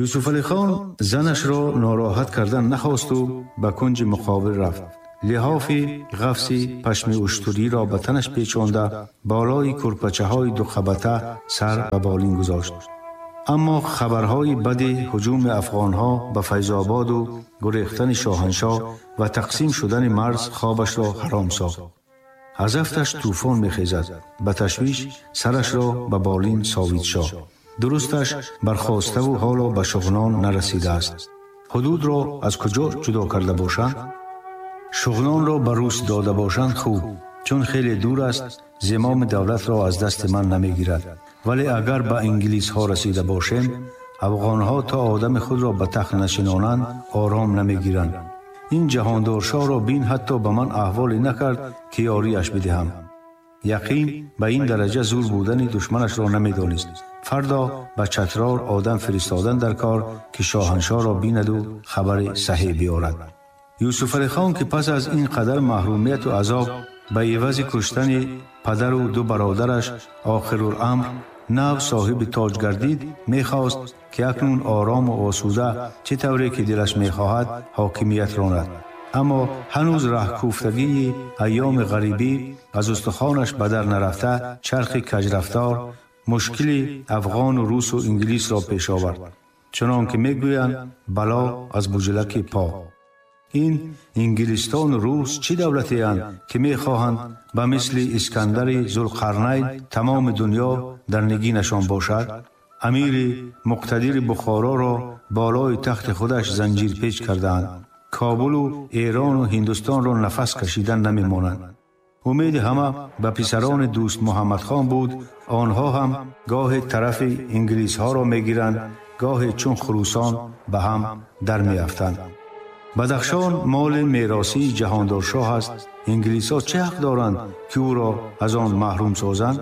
Юсуф Алихон занашро нороҳат кардан нахосту ба кунҷи муқобил рафт. Лиҳофи ғафси пашми уштуриро ба танаш печонда, болои курпачаҳои дуқабата сар ба болин гузошт. Аммо хабарҳои бади ҳуҷуми афғонҳо ба Файзободу гурехтани шоҳаншоҳ ва тақсим шудани марз хобашро ҳаром сохт. Аз афташ тӯфон мехезад. Ба ташвиш сарашро ба болин совид шоҳ. Дурусташ бархоставу ҳоло ба Шуғнон нарасидааст. Ҳудудро аз куҷо ҷудо карда бошанд? Шуғнонро ба рус дода бошанд хуб, чун хеле дур аст, зимоми давлатро аз дасти ман намегирад. Вале агар ба инглисҳо расида бошем, афғонҳо то одами худро ба тахт нашинонанд, ором намегиранд. Ин ҷаҳондоршоҳро бин, ҳатто ба ман аҳволе накард, ки ёрияш бидиҳам. Яқин ба ин дараҷа зур будани душманашро намедонист. Фардо ба Чатрор одам фиристодан дар кор, ки шоҳаншоҳро бинаду хабари саҳеҳ биёрад. Юсуфалихон, ки пас аз ин қадар маҳрумияту азоб ба ивази куштани падару ду бародараш охируламр нав соҳиби тоҷ гардид, мехост, ки акнун орому осуда, чӣ тавре ки дилаш мехоҳад, ҳокимият ронад. Аммо ҳанӯз раҳкӯфтагии айёми ғарибӣ аз устухонаш ба дар нарафта, чархи каҷрафтор мушкили афғону русу инглисро пеш овард. Чунон ки мегӯянд, бало аз буҷлаки по. Ин инглистону рус чӣ давлатеанд, ки мехоҳанд ба мисли Искандари Зулқарнайн тамоми дунё дар нигинашон бошад? Амири муқтадири Бухороро болои тахти худаш занҷирпеч кардаанд. Кобулу Эрону Ҳиндустонро нафас кашидан намемонанд. Умеди ҳама ба писарони Дӯст Муҳаммадхон буд. Онҳо ҳам гоҳе тарафи инглисҳоро мегиранд, гоҳе чун хурӯсон ба ҳам дар меафтанд. Бадахшон моли меросии ҷаҳондоршоҳ аст. Инглисҳо чӣ ҳақ доранд, ки ӯро аз он маҳрум созанд?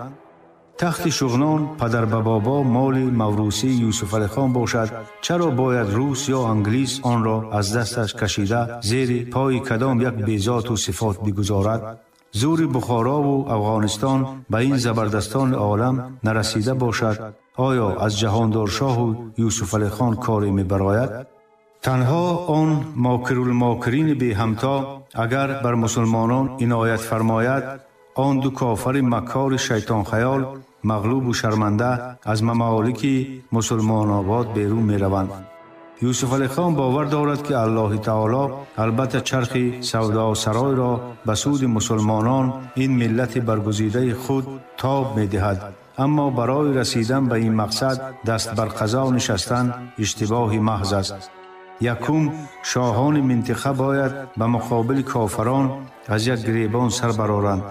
Тахти Шуғнон падарбабобо моли маврусии Юсуфалихон бошад, чаро бояд рус ё англис онро аз дасташ кашида, зери пои кадом як безоту сифот бигузорад? Зури Бухорову Афғонистон ба ин забардастони олам нарасида бошад, оё аз ҷаҳондоршоҳу Юсуфалихон коре мебарояд? Танҳо он мокирулмокирини беҳамто агар бар мусулмонон иноят фармояд, он ду кофари маккори шайтонхаёл мағлубу шарманда аз мамолики мусулмонобод берун мераванд. Юсуфалихон бовар дорад, ки Аллоҳи таоло албатта чархи савдосаройро ба суди мусулмонон, ин миллати баргузидаи худ, тоб медиҳад. Аммо барои расидан ба ин мақсад даст бар қазо нишастан иштибоҳи маҳз аст. Якум, шоҳони минтиқа бояд ба муқобили кофарон аз як гиребон сар бароранд.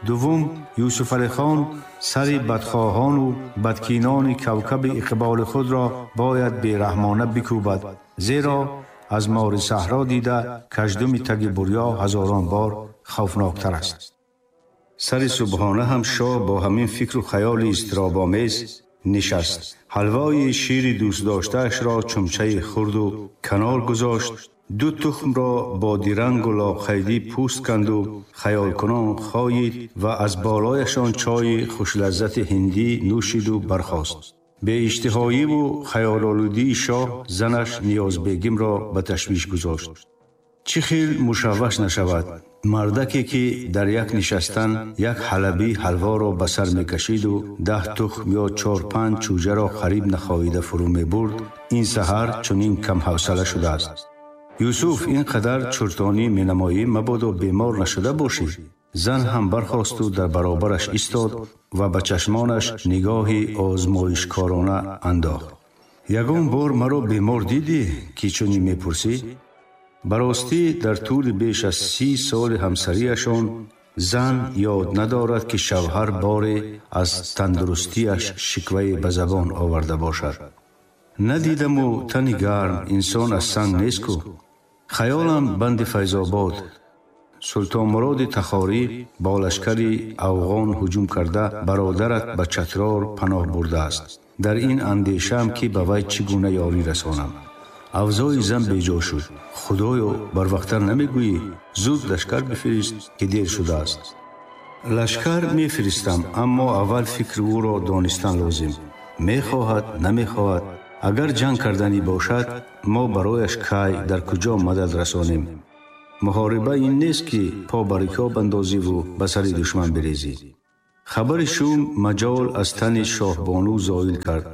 Дуввум, Юсуфалихон сари бадхоҳону бадкинони кавкаби иқболи худро бояд бераҳмона бикӯбад, зеро аз мори саҳро дида каждуми таги бурё ҳазорон бор хавфноктар аст. Сари субҳона ҳам шоҳ бо ҳамин фикру хаёли изтиробомез нишаст. Ҳалвои шири дӯстдоштаашро чумчаи хурду канор гузошт, ду тухмро бо дирангу лоқайдӣ пӯст канду хаёлкунон хоид ва аз болояшон чойи хушлаззати ҳиндӣ нӯшиду бархост. Беиштиҳоиву хаёлолудии шоҳ занаш Ниёзбегимро ба ташвиш гузошт. Чӣ хел мушавваш нашавад? Мардаке, ки дар як нишастан як ҳалабӣ ҳалворо ба сар мекашиду 10 тухм ё чор-панҷ чӯҷаро қариб нахоҳида фурӯ мебурд, ин саҳар чунин камҳавсала шудааст. Юсуф, ин қадар чуртонӣ менамоӣ, мабодо бемор нашуда бошӣ. Зан ҳам бархосту дар баробараш истод ва ба чашмонаш нигоҳи озмоишкорона андохт. Ягон бор маро бемор дидӣ, ки чунин мепурсӣ? Ба ростӣ, дар тӯли беш аз 30 соли ҳамсарияшон зан ёд надорад, ки шавҳар боре аз тандурустиаш шиквае ба забон оварда бошад. Надидаму тани гарм, инсон аз санг нест ку. Хаёлам банди Файзобод. Султонмуроди Тахорӣ бо лашкари афғон ҳуҷум карда, бародарат ба Чатрор паноҳ бурдааст. Дар ин андешаам, ки ба вай чӣ гуна ёрӣ расонам. Авзои зан беҷо шуд. Худоё, барвақттар намегӯӣ? Зуд лашкар бифирист, ки дер шудааст. Лашкар мефиристам, аммо аввал фикри ӯро донистан лозим. Мехоҳад, намехоҳад. Агар ҷанг карданӣ бошад, мо барояш кай дар куҷо мадад расонем? Муҳориба ин нест, ки по ба рикоб андозиву ба сари душман бирезӣ. Хабари шум маҷол аз тани шоҳбону зоил кард.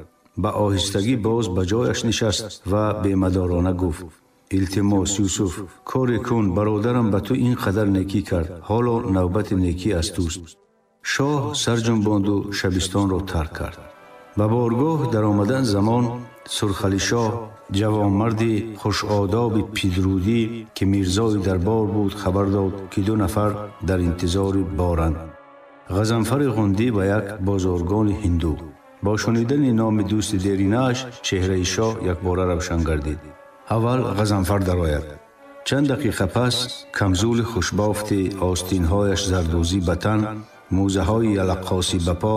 Ба оҳистагӣ боз ба ҷояш нишаст ва бемадорона гуфт: «Илтимос, Юсуф, коре кун, бародарам ба ту ин қадар некӣ кард, ҳоло навбати некӣ аз туст». Шоҳ сарҷунбонду шабистонро тарк кард. Ба боргоҳ даромадан замон Сурхалишоҳ, ҷавонмарди хушодоби пидрудӣ, ки мирзои дарбор буд, хабар дод, ки ду нафар дар интизори боранд: Ғазанфари Ғундӣ ва як бозоргони ҳинду. Бо шунидани номи дӯсти деринааш чеҳраи шоҳ якбора равшан гардид. Аввал Ғазанфар дарояд. Чанд дақиқа пас камзули хушбофти остинҳояш зардӯзӣ ба тан, мӯзаҳои ялаққосӣ ба по,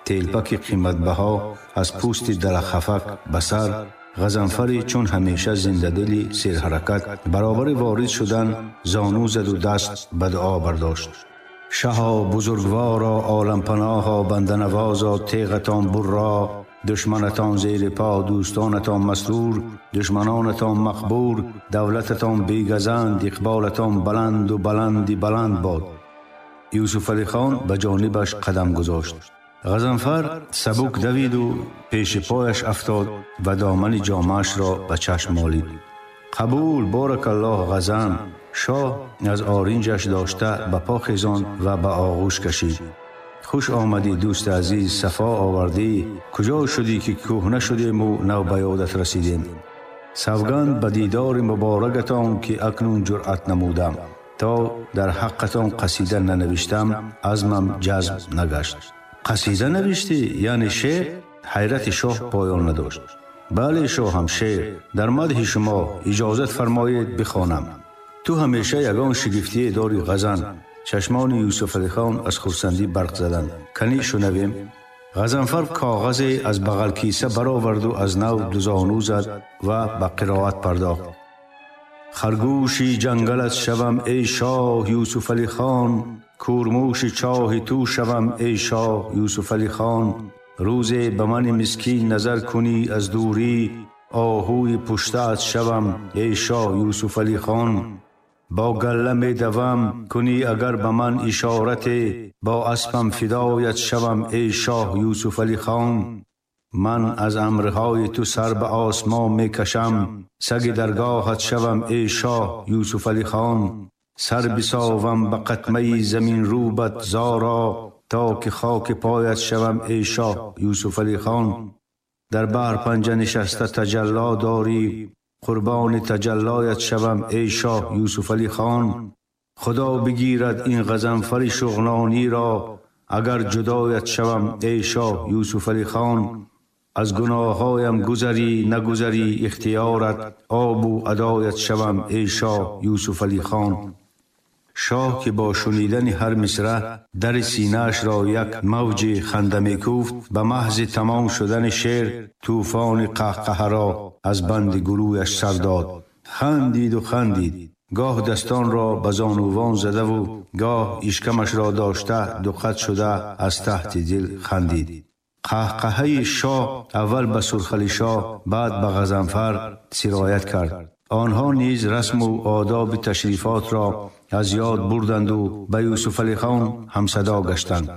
телпаки қиматбаҳо аз пӯсти далахафак ба сар, Ғазанфари чун ҳамеша зиндадили серҳаракат баробари ворид шудан зону заду даст ба дуо бардошт. «Шаҳо, бузургворо, олампаноҳо, банданавозо, теғатон бурро, душманатон зери по, дӯстонатон масрур, душманонатон мақбур, давлататон бегазанд, иқболатон баланду баланди баланд бод». Юсуфалихон ба ҷонибаш қадам гузошт. Ғазанфар сабук давиду пеши пояш афтод ва домани ҷомаашро ба чашм молид. «Қабул, боракаллоҳ, Ғазан!» Шоҳ аз оринҷаш дошта ба по хезонд ва ба оғӯш кашид. «Хуш омадӣ, дӯсти азиз, сафо овардӣ. Куҷо шудӣ, ки кӯҳна шудему нав ба ёдат расидем? Савганд ба дидори муборакатон, ки акнун ҷуръат намудам. То дар ҳаққатон қасида нанавиштам, азмам ҷазм нагашт». «Қасида навиштӣ, яъне шеър?» Ҳайрати шоҳ поён надошт. «Бале, шоҳам, шеър дар мадҳи шумо. Иҷозат фармоед, бихонам». «Ту ҳамеша ягон шигифтие дорӣ, Ғазан!» Чашмони Юсуфалихон аз хурсандӣ барқ заданд. «Канӣ шунавем». Ғазанфар коғазе аз бағалкиса бароварду аз нав дузону зад ва ба қироат пардохт. «Харгӯши ҷангалат шавам, эй шоҳ Юсуфалихон, кӯрмӯши чоҳи ту шавам, эй шоҳ Юсуфалихон. Рӯзе ба мани мискин назар кунӣ аз дурӣ, оҳуи пуштаат шавам, эй шоҳ Юсуфалихон. Бо галла медавам, кунӣ агар ба ман ишорате, бо аспам фидоят шавам, эй шоҳ Юсуфалихон. Ман аз амрҳои ту сар ба осмон мекашам, саги даргоҳат шавам, эй шоҳ Юсуфалихон. Сар бисовам ба қатмаи заминрӯбат зоро, то ки хоки поят шавам, эй шоҳ Юсуфалихон. Дар баҳр панҷа нишаста таҷалло дорӣ, қурбони таҷаллоят шавам, эй шоҳ Юсуфалихон. Худо бигирад ин Ғазанфари шуғнониро, агар ҷудоят шавам, эй шоҳ Юсуфалихон. Аз гуноҳҳоям гузарӣ, нагузарӣ ихтиёрат, обу адоят шавам, эй шоҳ Юсуфалихон». Шоҳ, ки бо шунидани ҳар мисра дари синаашро як мавҷи ханда мекӯфт, ба маҳзи тамом шудани шеър тӯфони қаҳқаҳаро аз банди гулӯяш сар дод. Хандиду хандид, гоҳ дастонро ба зонувон задаву гоҳ ишкамашро дошта дуқат шуда аз таҳти дил хандид. Қаҳқаҳаи шоҳ аввал ба Сурхалишоҳ, баъд ба Ғазанфар сироят кард. Онҳо низ расму одоби ташрифотро аз ёд бурданду ба Юсуфалихон ҳамсадо гаштанд.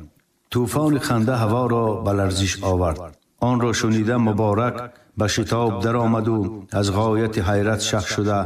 Тӯфони ханда ҳаворо ба ларзиш овард. Онро шунида, Муборак ба шитоб даромаду аз ғояти ҳайрат шах шуда